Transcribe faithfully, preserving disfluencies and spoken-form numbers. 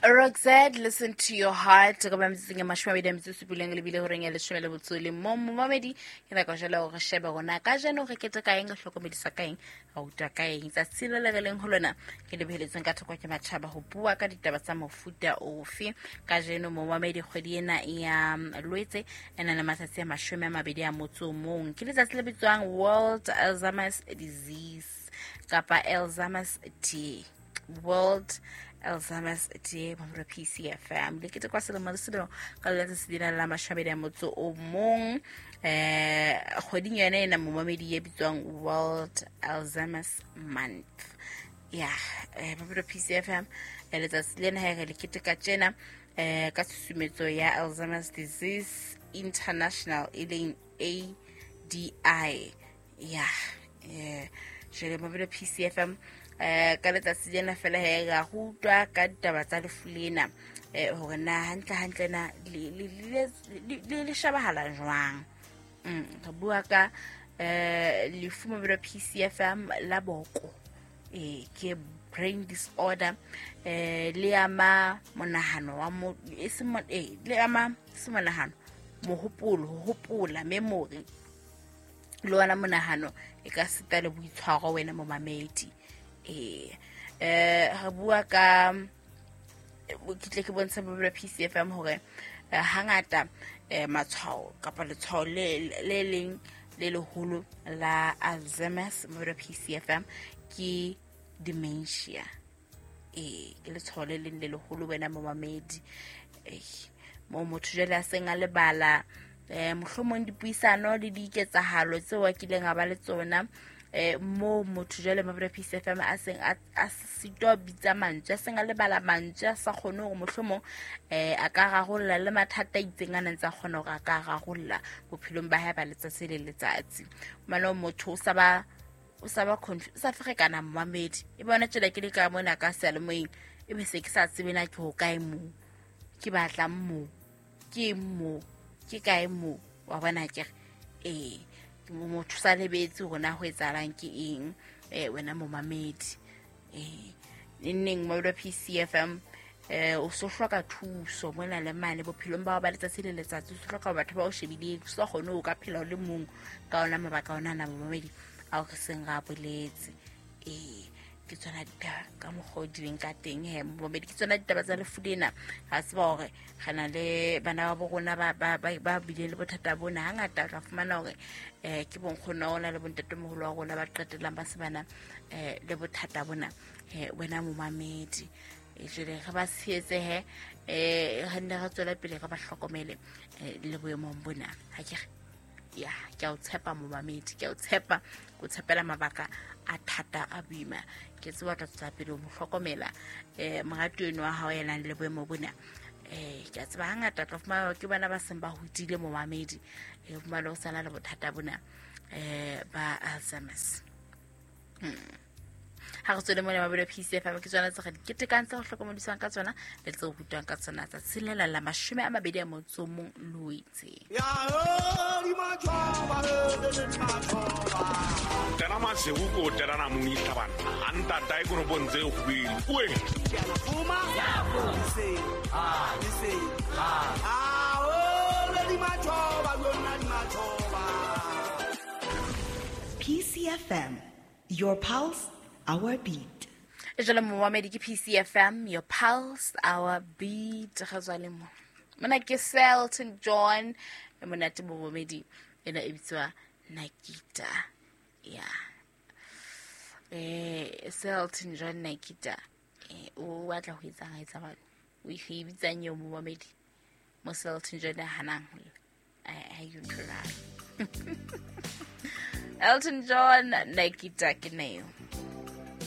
Roxette, listen to your heart. Ka ba metsotsong e mashome a mabedi a metsotso e supileng le bile horeng ya leshome le botso le mong. Momamedi, ke nako jwale hore re shebe hore na kajeno re keteka eng, re hlokomedisa ka eng, re rutwa ka eng. Tsatsi le le re leng ho lona ke le beheletsweng ka thoko ke matjhaba ho bua ka ditaba tsa mofuta ofe. Kajeno momamedi, kgwedi ena ya Loetse e na le matsatsi a mashome a mabedi a motso o mong. Ke letsatsi le bitswang World Alzheimer's Disease kapa Alzheimer's Day. World Alzheimer's Day mo P C F M. Le ketekwa selemo le selemo ka letsatsi lena la mashome a mabedi a motso o mong. Eh, kgweding yona ena momamedi e bitswang World Alzheimer's Month. Ya, eh, mo P C F M, eh, letsatsi lena ha re le keteka tjena, eh, ka tshusumetso ya Alzheimer's Disease International e leng A D I. Ya, eh, jwale mo P C F M, eh, ka letsatsi lena fela he ra rutwa ka ditaba tsa lefu lena, eh, hore na hantle hantle na le, le, le, le, le, le shebahala jwang. Mm, re bua ka, eh, lefu mo P C F M la boko, eh, ke brain disorder, eh, le ama monahano wa mo-, e se mo-, eh, le ama se monahano, mohopolo, ho hopola, memory, le ona monahano e ka sita le boitshwaro wena momamedi. Eh, eh, re bua ka, ke tle ke bontshe bo P C F M hore, eh, hangata, eh, matshwao kapa letshwao le, le leng le leholo la Alzheimer's mo P C F M ke dementia. Eh, ke letshwao le leng le leholo wena momamedi. Eh, mo motho jwale a seng a lebala, eh, mohlomong dipuisano le diketsahalo tseo a kileng a ba le tsona, eh, mo motho jwale mo P C F M a seng a, a sitwa bitsa mantswe, a seng a lebala mantswe, a sa kgone hore mohlomong, eh, a ka rarolla le mathata a itseng a neng tsa kgona hore a ka rarolla bophelong ba hae ba letsatsi le letsatsi. Mane motho o sa ba, o sa ba conf-, o sa ferekana momamedi. E bona tjela ke le ka mona ka seyalemoyeng, e be se ke sa tsebe na ke hokae moo, ke batlang moo, ke moo, ke kae moo, wa bona ke re, eh, motho sa lebetse hore na ho etsahalang ke eng, eh, wena momamedi. Eh, neng mo P C F M, eh, o so hloka thuso mona le mane bophelong ba hao ba letsatsi le letsatsi, o so hloka batho ba o shebileng, o sa kgone ho ka phela o le mong ka ona mabaka ona ana momamedi ao re seng ra boletse. Eh, ke tsona ditaba ka mokgwa o di leng ka teng he momamedi, ke tsona ditaba tsa lefu lena. Ra tseba hore re na le bana ba bo rona ba, ba, ba, ba bileng le bothata bona. Hangata o tla fumana hore, eh, ke bonkgono wa rona le bontatemoholo wa rona ba qetellang ba se bana, eh, le bothata bona, eh, wena momamedi. Eh, jwale re ba tshehetse he, eh, re nne re tswele pele re ba hlokomele, eh, le boemong bona. Ha ke re, ya, ke a o tshepa momamedi, ke a o tshepa, ke o tshepela mabaka a thata a boima. Ke tseba o tla tswela pele ho mo hlokomela, eh, moratuwa enwa wa hao ya nang le boemo bona. Eh, ke a tseba hangata o tla fumana hore ke bana ba seng ba hodile momamedi, eh, o fumane ho sana le bothata bona, eh, ba Alzheimer's. Hmm. Ha re tswele mona mabelo P C F M, ke tsona tse re di ketekang, tse re hlokomediswang ka tsona le tse re rutwang ka tsona tsatsing lena la mashome a mabedi a motso o mong Loetse. Ya ho, di matjhoba, he, le le di matjhoba. Tena masewu ko tena na moni hlabana. A ntata e koropong tse kgubedu. Uwe. Ke a fuma. Le se, ah, le se, ah. Ah, ho, le di matjhoba, lona di matjhoba. P C F M, your pulse, our beat. Jwale momamedi ke P C F M, your pulse, our beat. Ga tswa le mo. Mona ke Selton John, e monate momamedi, ena e bitswa Nikita. Ya. Eh, Selton John Nikita. Eh, o batla ho etsa ha etsa bana. O e bitsang eo momamedi. Mo Selton John a hanang ho lla. Eh, ha e utlwala. Elton John Nikita ke neo.